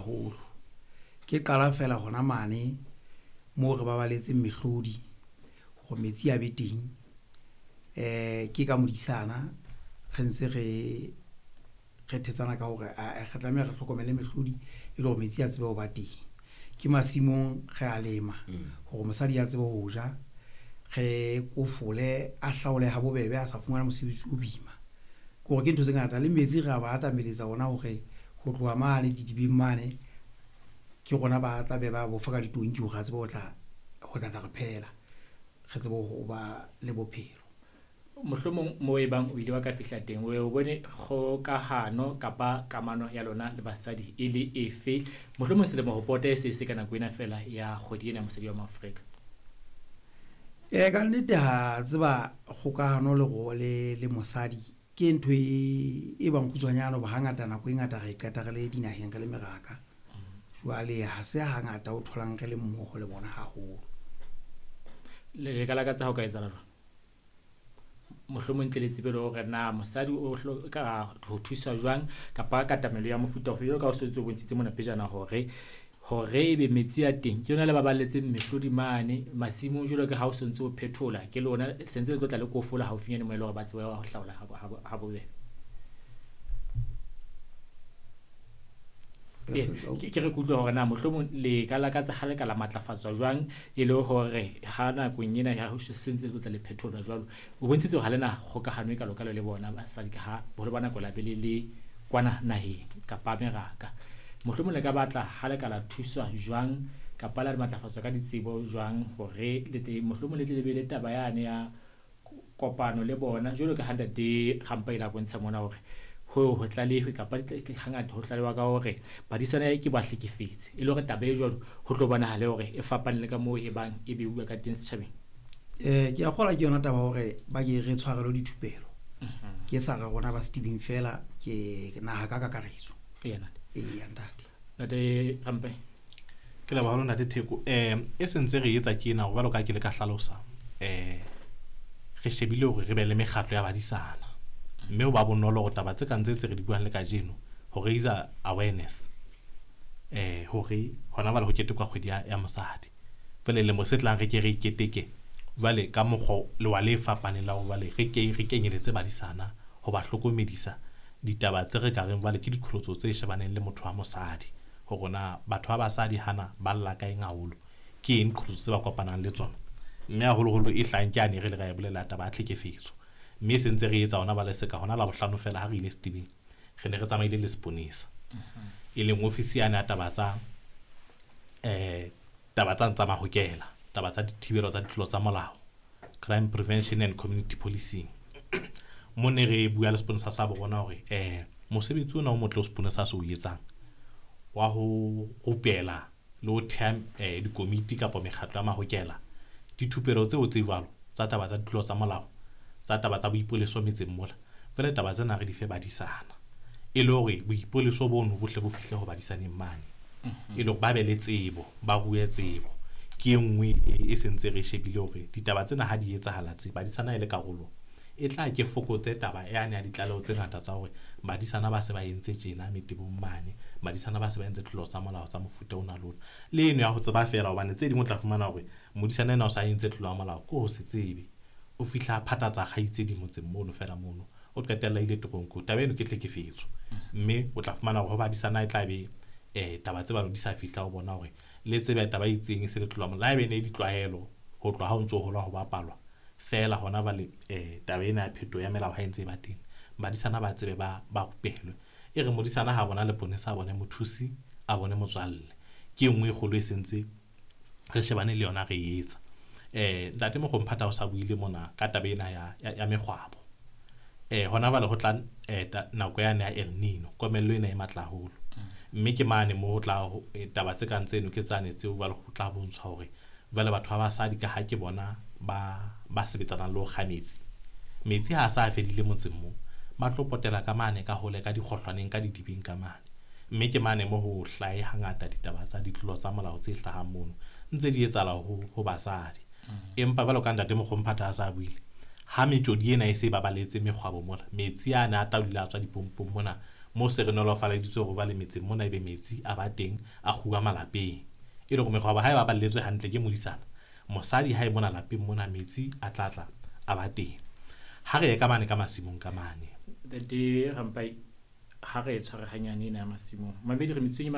haholo. Ke qala fela hona mane moo re babaletseng mehlodi hore metsi a be teng. Ke ka modisana re ntse re thetsana ka hore re tlameha re hlokomele mehlodi e le hore metsi a tsebe ho ba teng. Ke masimong re a lema hore mosadi a tsebe ho ja, re kofole a hlaole ha bobebe a sa fumana mosebetsi o boima. Ke hore ke ntho tse ngata le metsi re a ba atameletsa ona hore ho tloha mane didibeng mane ke rona ba tla be ba bofa ka ditonki hore a tsebe ho tla re phehela, re tsebe ho ba le bophelo. Mohlomong mo e bang o ile wa ka fihla teng o bone kgokahano kapa kamano ya lona le basadi e le efe, mohlomong selemo ho pota e se se ka nako ena fela ya kgwedi ena ya mosadi wa Moafrika? Ka nnete ha tseba kgokahano le mosadi ke ntho e bang kgutshwanyane hoba hangata nako e ngata re e qeta re le dinaheng re le meraka. Jwale ha se hangata o tholang re le mmoho le bona haholo. Le ka lakatsa ha o ka etsahala jwang? Mohlomong ntle le tsebe le hore na mosadi o hloka ho thuswa jwang kapa katamelo ya mofuta ofe, jwalo ka ha o se o bontshitse mona pejana hore ebe metsi a teng ke yona le baballetseng mehlodi mane masimong, jwalo ka ha o sontso o phethola ke lona sentse le tlo tla le kofola haufinyane mo e le hore ba tsebe ho hlaola ha bobebe. Ke re kutlwe hore na mohlomong le ka lakatsa ha le ka la matlafatswa jwang e le hore ha nakong ena ya ho sentse le tlo tla le phetholwa jwalo. O bontshitse hore ha le na kgokahano e kalokalo le bona basadi ka ha boholo ba nako la be le le kwana naheng kapa meraka. Mohlomong le ka batla ha le ka la thuswa jwang kapa la matlafatswa ka ditsebo jwang hore le tle mohlomong le tle le be le taba yane ya kopano le bona, jwalo ka ha ntate Rampa ile a bontsha mona hore ho tlalehwe kapa hangata ho tlalewa ka hore badisana ke ba hlekefetse, e le hore taba e jwalo ho tlo bonahale hore e fapane le ka moo e bang e beuwa ka teng setjhabeng. Ke a kgolwa ke yona taba hore ba ke re tshwarelwe dithupelo. Ke sa re rona ba setibeng fela, ke naha ka kakaretso. Eya ntate. Ntate Rampa. Ke leboha haholo ntate Theko. E sentse re etsa tjena hore jwalo ka ke le ka hlalosa, re shebile hore re be le mekgatlo ya badisana. Mme ho ba bonolo hore taba tse kang tse re di buang le kajeno ho raise awareness, hore hona jwale ho ketekwa kgwedi ya mosadi. Jwale lemo se tlang re ke re iketeke jwale ka mokgwa lewa le fapaneng la hore jwale re ke re kenyeletse badisana ho ba hlokomedisa ditaba tse re ka reng jwale ke diqholotso tse shebaneng le motho wa mosadi, hore na batho ba basadi hana ba lla ka eng haholo, ke eng qholotso tse ba kopanang le tsona. Mme haholoholo e hlahang ke ane re le ra e bolela taba ya tlhekefetso. Mme se ntse re etsa hona bale seka hona Labohlano fela ha re ile setibeng, re ne re tsamaile le seponesa, e leng ofisi yane ya taba tsa taba tsa mahokela, taba tsa dithibelo tsa ditlolo tsa molao, crime prevention and community policing. Mo ne re bua le seponesa sa bo rona hore mosebetsi ona o motle o seponesa se o etsang wa ho rupela le ho theha dikomiti kapa mekgatlo ya mahokela, dithupelo tseo tse jwalo tsa taba tsa ditlolo tsa molao, tsa taba tsa boipoleso metseng mola, jwale taba tsena re di fe badisana e le hore boipoleso bono bohle bo fihle ho badisaneng mane, e le hore ba be le tsebo, ba rue tsebo. Ke e nngwe e sentse re shebile hore ditaba tsena ha di etsahala tse badisana e le karolo e tla ke fokotse taba yane ya ditlaleho tse ngata tsa hore badisana ba se ba entse tjena metebong mane, badisana ba se ba entse tlolo tsa molao tsa mofuta ona le ona. Le eno ya ho tseba feela, hobane tse ding o tla fumana hore modisana ena o sa entse tlolo ya molao ke ho se tsebe, o fihla phathatsa kgaitsedi motseng mono fela mono, o qetella ile teronkong. Taba eno ke tlhekefetso, mme o tla fumana hore ho badisana e tla be taba tse balo di sa fihla ho bona hore le tsebe taba e itseng e se le tlolo ya molao. Le haebe ne ditlwaelo ho tloha ha o ntso hola ho bapalwa fela hona jwale, taba ena ya phetoho ya melao ha e ntse e ba teng, badisana ba tsebe ba rupelwe. E re modisana ha bona leponesa, a bone mothusi, a bone motswalle. Ke e nngwe e kgolo e sentse re shebane le yona re e etsa. Ntate Mokompata o sa buile mona ka taba ena ya mekgwabo. Hona jwale ho tla nako yane ya El Nino, komello ena e matla haholo. Mme ke mane moo ho tla taba tse kang tseno ke tsane tseo jwale ho tla bontshwa hore jwale batho ba basadi ka ha ke bona ba sebetsanang le ho kga metsi. Metsi ha a sa fedile motseng moo, ba tlo potela ka mane ka hole ka dikgohlwaneng ka didibeng ka mane. Mme ke mane mo ho hlahe hangata ditaba tsa ditlolo tsa molao tse hlahang mono ntse di etsahala ho basadi. Empa jwalo ka ntate Mokompata a sa buile, ha metjodi ena e se e babaletse mekgwabo mona, metsi ana a tla dula a tswa dipompong mona, Mo se re nolofaleditswe hore jwale metseng mona ebe metsi a ba teng a kguwa malapeng. E le hore mekgwabo ha e baballetswe hantle ke modisana, mosadi ha e mona lapeng mona metsi a tla tla a ba teng. Ha re ye ka mane ka masimong ka mane. Ntate Rampai, ha re e tshware hanyane ena ya masimong. Mamedi re metsotsong e